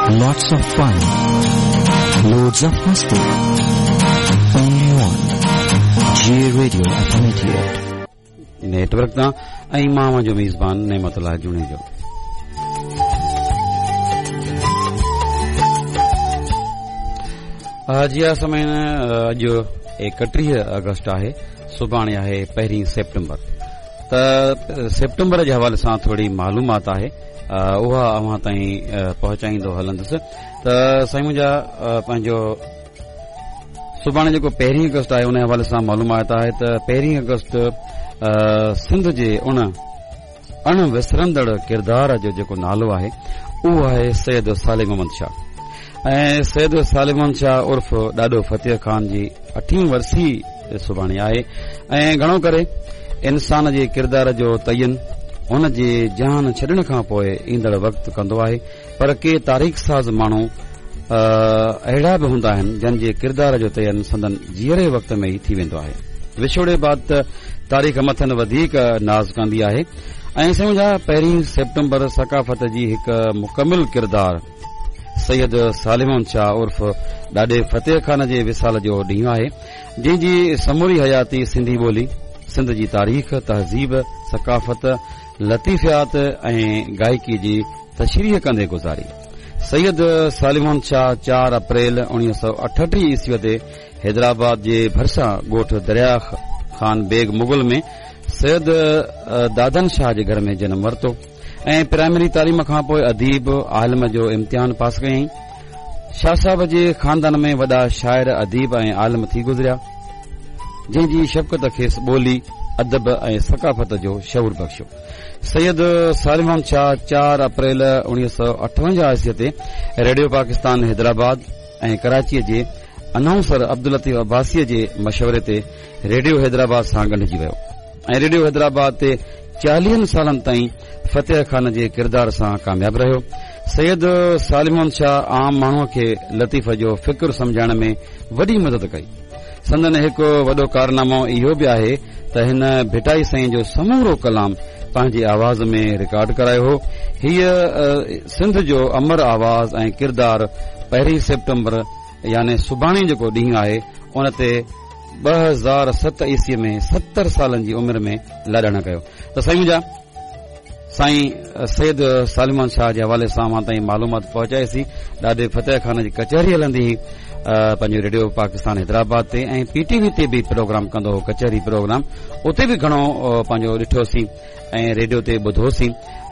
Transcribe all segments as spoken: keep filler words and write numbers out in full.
Lots of fun. Loads of masti. Only on J Radio F M eighty-eight. Network तां ऐं मां जो मेज़बान नेमतुल्लाह जुणेजो। जी हा समय अॼु एकटीह अगस्त आहे, सुभाणे आहे पहिरीं सेप्टेम्बर। त सेप्टेम्बर जे हवाले सां थोरी मालूमात आहे, उहा अव्हां ताईं पहुचाईंदो हलंदुसि। त साईं मुंहिंजा पंहिंजो सुभाणे जेको पहिरीं अगस्त आहे उन हवाले सां मालूमात आहे त पहिरीं अगस्त सिंध जे उन अण विसरंदड़ किरदार जो जेको नालो आहे उहो आहे सैयद सालिम मोहम्मद शाह। ऐं सैयद सालिम मोहम्मद शाह उर्फ़ ॾाॾो फतेह खान जी अठीं वरसी सुभाणे आहे। ऐं घणो करे इंसान जे किरदार जो तयन उन जे जान छॾण खां पोइ ईंदड़ वक़्तु कंदो आहे, पर के तारीख़ साज़ माण्हू अहिड़ा बि हूंदा आहिनि जन जे किरदार जो तयन संदन जीअरे वक़्त में ई थी वेंदो आहे। विछोड़े बाद त तारीख़ मथनि वधीक नाज़ कंदी आहे। ऐं सम्झा पहिरीं सेप्टेम्बर सकाफ़त जी हिकु मुकमिल किरदार सैयद सालिम शाह उर्फ़ ॾाॾे फतेह खान जे विसाल जो ॾींहुं आहे, जंहिंजी समूरी हयाती सिंधी ॿोली, सिंध जी तारीख़, तहज़ीब, सकाफ़त, लतीफ़ियात ऐं गायकी जी तशरीह कंदे गुज़ारी। सैयद सालिम शाह चार अप्रैल उणिवीह सौ अठटीह ईस्वीअ ते हैदराबाद जे भरिसां ॻोठ दरिया खान बेग मुग़ल में सैयद दादन शाह जे घर में जनम वरितो ऐं प्राइमरी तालीम खां पोइ अदीब आलम जो इम्तिहान पास कयईं। शाह साहब जे ख़ानदान में वॾा शाइर, अदीब ऐं आलम थी गुज़रिया, जंहिंजी शफ़क़त खेसि ॿोली, अदब ऐं सकाफ़त जो शऊर बख़्शियो। सैयद सालिम शाह चार अप्रैल उणिवीह सौ अठवंजाह ईस्वीअ ते रेडियो पाकिस्तान हैदराबाद ऐं कराचीअ जे अनाउंसर अब्दुल लतीफ़ अब्बासीअ जे मशवरे ते रेडियो हैदराबाद सां ॻंढिजी वियो ऐं रेडियो हैदराबाद ते चालीहनि सालनि ताईं फतेह खान जे किरदार सां कामयाब रहियो। सैयद सालिम शाह आम माण्हूअ खे लतीफ़ जो फ़िक्र सम्झाइण में वॾी मदद कई। संदन हिकु वॾो कारनामो इहो बि आहे त हिन भिटाई साईं जो समूरो कलाम पंहिंजे आवाज़ में रिकॉर्ड करायो हो। हीअ सिंध जो अमर आवाज़ ऐं किरदार पहिरीं सेप्टेम्बर यानी सुभाणे जेको ॾींहुं आहे उन ते ॿ हज़ार सत ईस्वीअ में सतरि सालनि जी उमिरि में लाॾाणा कयो। त साईं मुंहिंजा साईं सैयद सालिम शाह जे हवाले सां मां ताईं मालूमात पहुचाईसीं। ॾाढे फतेह खान जी कचहरी हलंदी हुई पंहिंजो रेडियो पाकिस्तान हैदराबाद ते ऐं पीटीवी ते बि प्रोग्राम कंदो हो, कचहरी प्रोग्राम, उते बि घणो पंहिंजो ॾिठोसीं ऐं रेडियो ते ॿुधोसीं।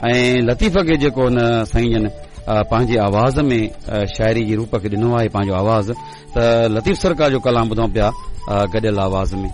ऐं लतीफ़ खे जेको हुन साईं जन पंहिंजे आवाज़ में शाइरी जे रूप खे ॾिनो आहे पंहिंजो आवाज़, त लतीफ़ सरकार जो कलाम ॿुधूं पिया गॾियल आवाज़ में।